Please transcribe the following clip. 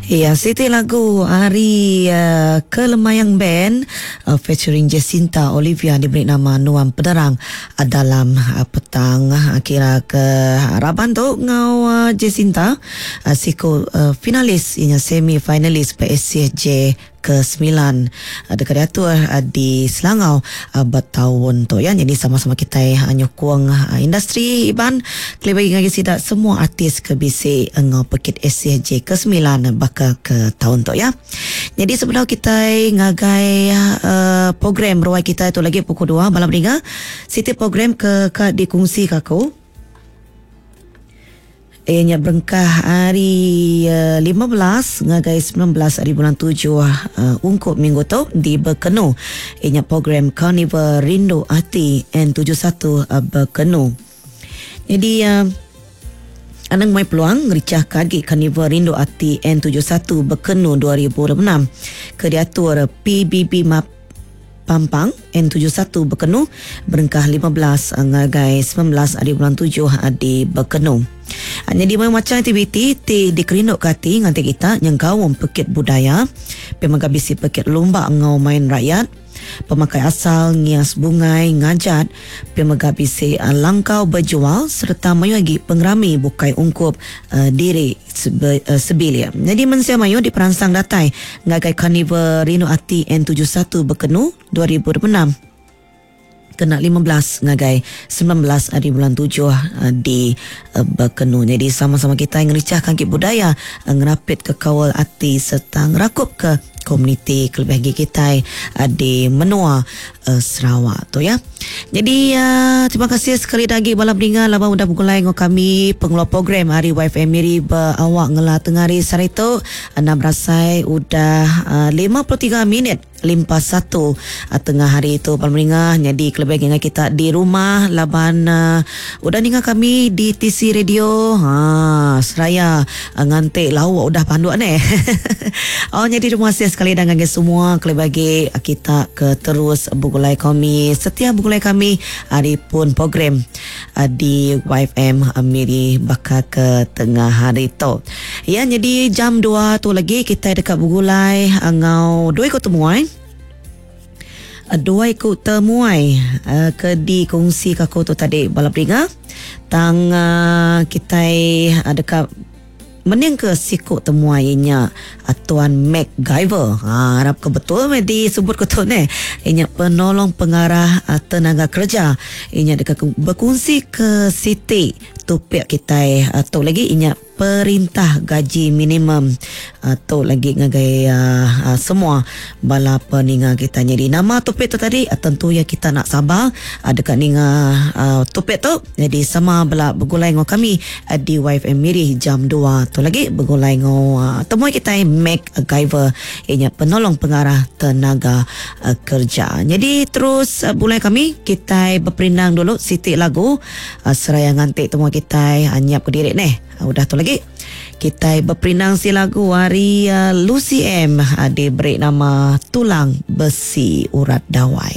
Ya, siti lagu ari uh, Kelemayang Band uh, featuring Jacinta Olivia diberi nama Nuan Penerang uh, dalam uh, petang uh, kira ke raban tu ngau uh, Jacinta uh, siku uh, finalis inya semi finalis PSCJ ke-9 deka diatur di Selangau ba taun tu ya. Nyadi sama-sama kitai nyukung industri Iban kelebih agi ngagai sida semua artis ke bisi enggau pekit ACJ ke-9 baka ke taun tu ya. Nyadi sebedau kitai ngagai program ruai kitai tu lagi pukul dua malam ninga siti program ke ka dikongsi ka aku. Iya nya berengkah ari 15 ngagai 19 ari bulan tujuh ungkup minggu tu di Bekenu. Iya nya program Karnival Rindu Ati N71 Bekenu. Nyadi anang mai peluang ngerichahka agi Karnival Rindu Ati N71 Bekenu 2026 ke diatur PBB Map Pampang N71 Bekenu berengkah 15 ngagai 19 ari bulan tujuh di Bekenu. Nyadi mayuh macham aktiviti ti dikerinduka ati nganti kita nyengkaum pekit budaya, pia mega bisi pekit lumba enggau main rakyat, pemakai asal, ngias bungai, ngajat, pia mega bisi langkau bejual sereta mayuh agi pengerami bukai ungkup diri sebilik. Nyadi mensia mayuh diperansang datai ngagai Karnival Rindu Ati N71 Bekenu 2026 kena 15 ngagai 19 ari bulan tujuh di Bekenu. Nyadi sama-sama kitai ngerichahka agi budaya, ngerapitka kaul ati sereta ngerakupka komuniti kelebih agi kitai di menua Sarawak tu ya. Jadi uh, terima kasih sekali lagi bala peninga laban udah begulai enggau kami pengeluar program hari YFM Miri berawak ngela tengah hari sehari tu enam berasai udah uh, 53 minit limpas satu uh, tengah hari tu bala peninga jadi kelebih agi kita di rumah laban uh, udah ninga kami di TC Radio ha seraya Nganti lauk udah panduk neh. Oh nyadi terima kasih sekali dah ngagai semua kelebih agi kita ke terus begulai kami setia begulai kami ari pun program di YFM Miri baka ke tengah hari tu. Ya nyadi jam 2 tu lagi kitai deka begulai enggau dua iku temuai. Dua iku temuai ke dikongsi ka aku tu tadi bala peringa tang kitai deka mening ke siku temuai inya Tuan Mac Gyver. Ha arap ke betul meh disebut ku tu neh. Inya penolong pengarah tenaga kerja. Inya deka bekongsi ke siti topik kitai tu lagi inya Perintah gaji minimum tu lagi ngagai semua bala peninga kita. Nyadi nama topik tu tadi tentu iya kita nak sabar deka ninga topik tu. Nyadi sama bela begulai enggau kami di YFM Miri jam 2 tu lagi begulai enggau temui kitai Mac Gyver iya nya penolong pengarah tenaga kerja. Nyadi terus begulai kami kitai beperindang dulu siti lagu. Seraya nganti temua kitai nyiap kediri neh. Udah tu lagi kitai beperindang si lagu ari Lucy M diberi nama Tulang Besi Urat Dawai.